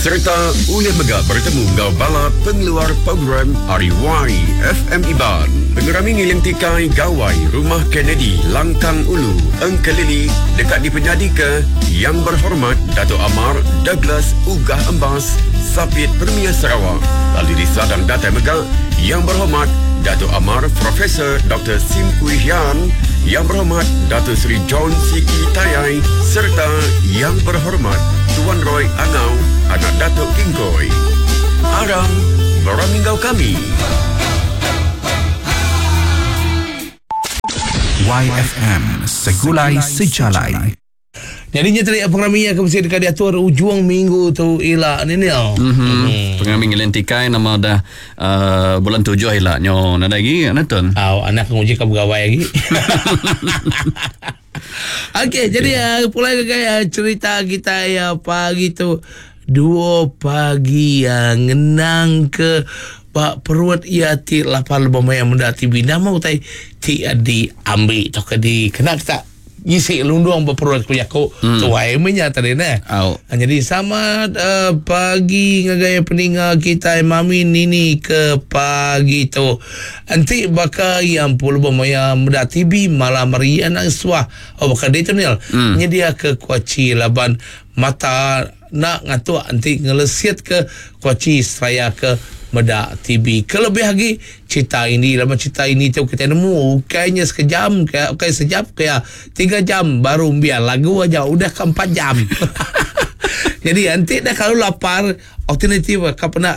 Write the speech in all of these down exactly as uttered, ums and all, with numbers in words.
Serta ulih mega bertemu ngau bala pengeluar program ari Y F M Iban. Pengerami ngiling tikai Gawai Rumah Kennedy Langkang Ulu Engkelili dekat dipenyadi ke Yang Berhormat Dato' Amar Douglas Uggah Embas Sapit Premier Sarawak. Lalu di Sadang Datai mega Yang Berhormat Dato' Amar Profesor Doktor Sim Kui Hian, Yang Berhormat Dato' Seri John Siki Tayai serta Yang Berhormat Tuan Roy Angau, anak Datuk Kingkoi. Aram berami kami. Y F M Segulai Sejalai. Jadi nya tadi pengerami yang mesti dekat diatur ujung minggu tu ila ni ni. Mhm. Pengerami ngilen tikai nama dah uh, bulan tujuh ila nyo nada lagi nonton. Aw anak nguji ke pegawai lagi. Okey, jadi uh, pulai ke gaya cerita kita ya pagi tu dua pagi uh, ngenang ke pak perut ia ti lapan lebih maya menda T V nama utai ti di ambil atau ke di kena tak ngisi lundung berperut ku jaku hmm. Tuai menya tadi ne. Oh. Jadi sama uh, pagi ngagaya peninga kita mami nini ke pagi tu. Enti baka yang puluh maya muda T V malam hari anak suah. Oh baka dia tu nil. Hmm. Nyedia ke kuaci laban mata nak ngatuk enti ngelesiat ke kuaci seraya ke medak T V. Kelebih lagi cerita ini, lama cerita ini tu kita nemu kayaknya sekejam, kayak okay, sejam, kayak tiga jam baru biar lagu aja udah ke empat jam. Jadi nanti dah kalau lapar alternatif kau pernah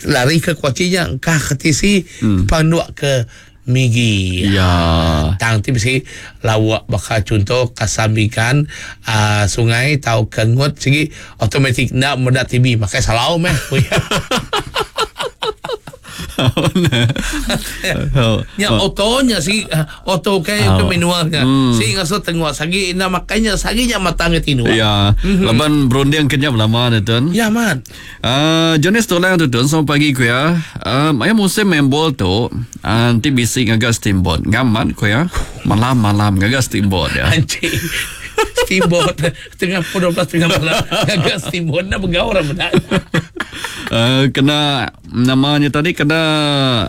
lari ke kuacinya kah ke T C hmm. Panduk ke Migi. Ya. Tang ti mesti lawak bakal contoh kasambikan uh, sungai tau kengut segi automatik nak medak T V makai salau meh. Ya otonya si oto ke ke manualnya. Si ngaso tengok sagi nak makanya saginya matang ke tinu. Ya. Laban berunding kenyap lama ni tuan. Ya man. Uh, Jonas tolong tu tuan selamat pagi ku ya. Uh, maya musim main bol tu nanti uh, bisi ngaga steamboat. Ngamat ku ya. Malam-malam ngaga steamboat ya. Anjing. Steamboat tengah pukul dua belas tengah malam ngaga steamboat nak bergaul orang benar. Uh, kena namanya tadi kena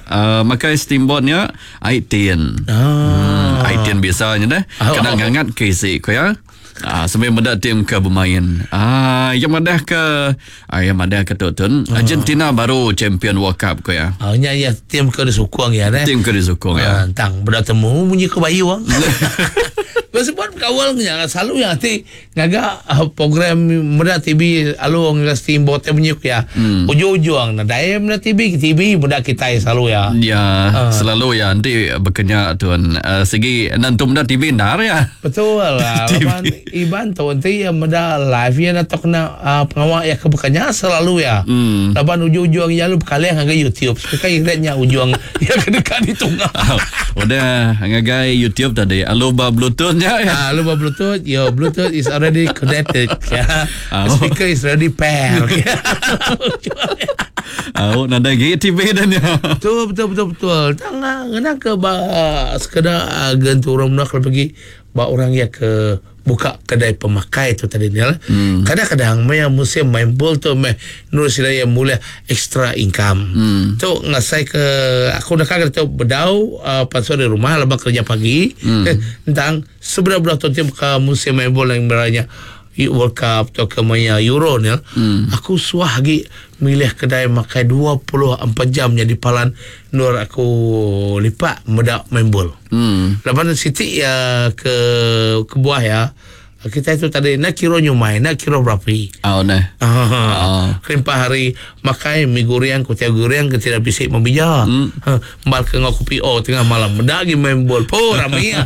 uh, makai steamboatnya air tin. Ah. Hmm, air tin biasanya dah. Oh, kena oh, ngangat ke isi ku ya. Ah, sampai mendak tim ke bermain. Ah, yang madah ke ah, yang madah ke tu tun. Ah. Argentina baru champion World Cup ku ya. Ah, nya ya tim ke disukung ya ne. Tim ke disukung ya. Ah, tang bertemu bunyi ke bayu ah. Sebab kawal nya selalu yang nanti ngaga uh, program muda T V alu ngaga steamboat bunyi ya. Hmm. Ujung-ujung nah daim na T V T V muda kita selalu ya. Ya, uh. selalu ya nanti berkenya tuan uh, segi nanti muda T V ndar ya. Betul lah. Laban Iban tu nanti yang muda live ya atau kena uh, pengawal ya kebukannya selalu ya. Hmm. Laban ujung-ujung ya lu kalian ngaga YouTube. Sekarang iratnya ujung yang kedekat di tunggal. Udah ngagai YouTube tadi. Alu ba Bluetooth-nya ya. Ah, lu ba Bluetooth, your Bluetooth is already connected. Ya. Oh. The speaker is already paired. Oh, nada lagi T V dan ya. Betul betul betul betul. Tang kena ke ba sekadar genturung nak kalau pergi ba orang ya ke buka kedai pemakai tu tadi ni lah. Hmm. Kadang-kadang maya musim main bol tu meh nur sila yang mula extra income. Hmm. Tu ngasai ke aku nak kata tu bedau uh, pasal di rumah lepas kerja pagi Hmm. eh, tentang seberapa tu tim ke musim main bol yang beranya World Cup atau ke maya Euro ni. Hmm. Aku suah lagi milih kedai makai dua puluh empat jam jadi palan nur aku lipat medak main bol. Hmm. Lepas Siti ya ke ke buah ya. Kita itu tadi nak kira nyumai, nak kira berapa. Oh nah. Ah. Kelimpah hari makai mi goreng, kutia goreng ke tidak bisik membija. Hmm. Ha, mal ke ngau kopi oh tengah malam medak lagi main bol. Po ramai ya.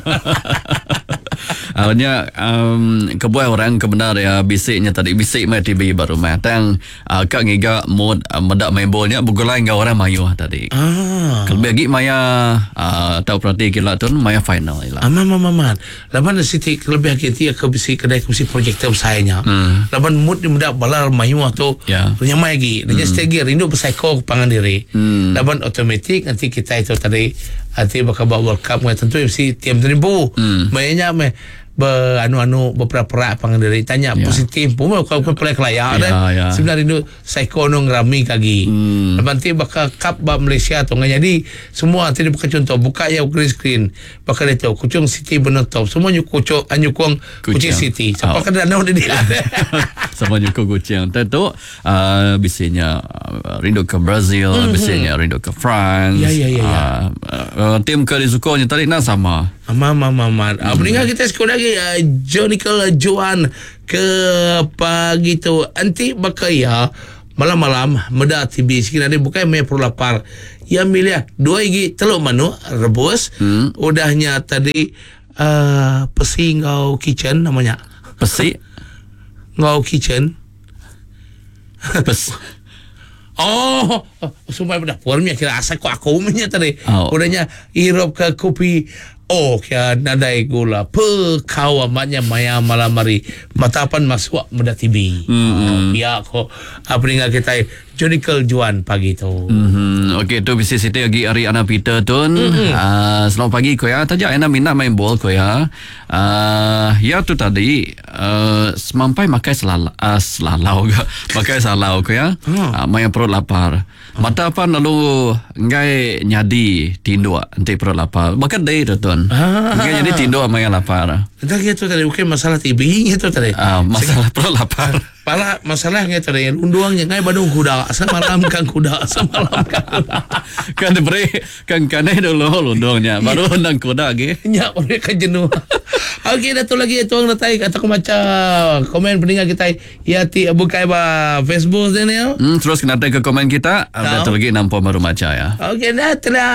Awalnya um, kebuah orang kebenar ya bisiknya tadi bisik mai T V baru mai tang uh, kak ngiga mood uh, medak main bolnya bergulai dengan orang mayu tadi. Ah. Kelebih lagi maya uh, tahu perhati kila tu maya final ila. Aman aman aman. Laban siti kelebih lagi tia ke bisi kedai ke bisi projektor besarnya. Hmm. Laban mood di medak balar mayu tu Ya. nyamai lagi. Dia hmm. stegi rindu bersaiko pangan diri. Hmm. Laban automatik nanti kita itu tadi nanti bakal buat World Cup tentu mesti tiap teribu. Hmm. Mainnya meh Beranu-anu berperak-perak pangan diri tanya Ya. positif pun kau kau pelai kelayak Ya, dah. ya. Sebenarnya rindu psycho nu ngerami kagi. Hmm. Lepas bakal cup bab Malaysia tu ngan jadi semua tadi bukan contoh buka ya green screen bakal itu kucing City penutup semua nyu kucing nyukung kucing Kucing. City. Siapa Oh. kena danau dia. Sama juga kucing. Tentu uh, biasanya uh, rindu ke Brazil, mm-hmm. biasanya rindu ke France. Ya, ya, ya, ya. Uh, uh, tim ke disukonya tadi nak sama. Mama mama. Hmm. Meninggal kita sekolah lagi uh, Jonical Joan ke pagi tu anti bakaya malam-malam meda T V sikit ada bukan main perlu lapar. Yang milih dua igi telur manuk rebus. Hmm. Udahnya tadi uh, pesi ngau kitchen namanya. Pesi. Ngau kitchen. Pes. Oh, sumbai dapur punya kira asal ku aku punya tadi. Oh. Udahnya hirup ke kopi. Oh, kira nadai gula. Pe kau amatnya maya malam hari. Mata pan masuk meda T V. Mm-hmm. Oh, ya ko apa dengar kita Jonical Juan pagi tu. Mm-hmm. Okey, tu bisi siti lagi hari Ana Peter tu. Mm-hmm. Uh, selamat pagi ko ya. Tajak Ana minat main bol ko ya. Uh, ya tu tadi uh, semampai makai selala, uh, selalau ke. Makai salau ko ya. Hmm. Uh, main perut lapar. Mata apa lalu ngai nyadi tinduk nanti perut lapar. Bahkan day tu tuan. Ah. Ngai jadi tinduk main lapar. Entah gitu tadi bukan masalah T V gitu tadi. Uh, masalah perut lapar. Pala masalahnya tadi unduang yang ngai badung kuda semalam kan kuda semalam kan kuda. Kan diberi kan kanai dulu lundungnya baru nang kuda lagi. Nya mereka jenuh. Okey, dah tu lagi tuang datai atau aku baca komen pendengar kita ya ti bukai ba Facebook Daniel. Hmm, terus kena ke komen kita. Ada Tahu. tu lagi nampak baru baca ya. Okey, dah telah